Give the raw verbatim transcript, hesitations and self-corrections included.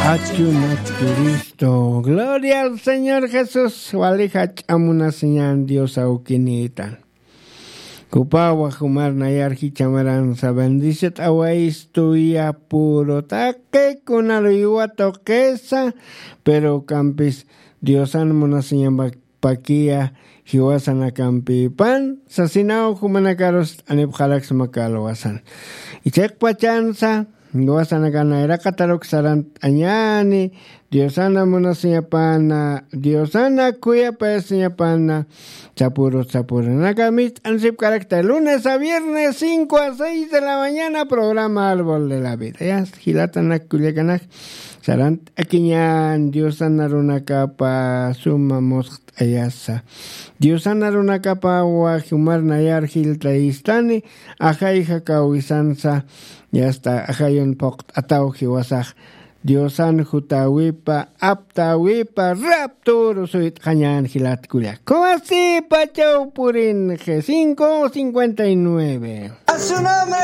Achunat Cristo. Gloria al Señor Jesús. Wali jach'a munasiñan Dios awkinita. Kupawa jumar nayar jichamaransa bendiciat awaistuya puro taqi kunaru iwa tuqisa, pero kampis Diosan munasiñamba pakiya jiwasanakampipan sasinaw jumanakarus t'anipxaraksma kalwasan. Ichhiqpachansa jiwasanakan nayraqataruk sarant'añani, Diosana munasiñapana, Diosana khuyapayasiñapana, sapuru sapuranaka mit'ansipkarakta lunes a viernes cinco a seis de la mañana, programa Árbol de la Vida. Ya jilatanak kullakanak, sarant'akiñan Diosana runakapa suma musqt'ayasa. Diosana runakapa wajumar nayar jiltayistani, ajayja kawisansa, yasta ajayun phuqt'ataw jiwasax. Diosan jutawipa, aptawipa, rapturu suyt'xañan jilat kullak. Kuwasipachaw purin G cinco cincuenta y nueve.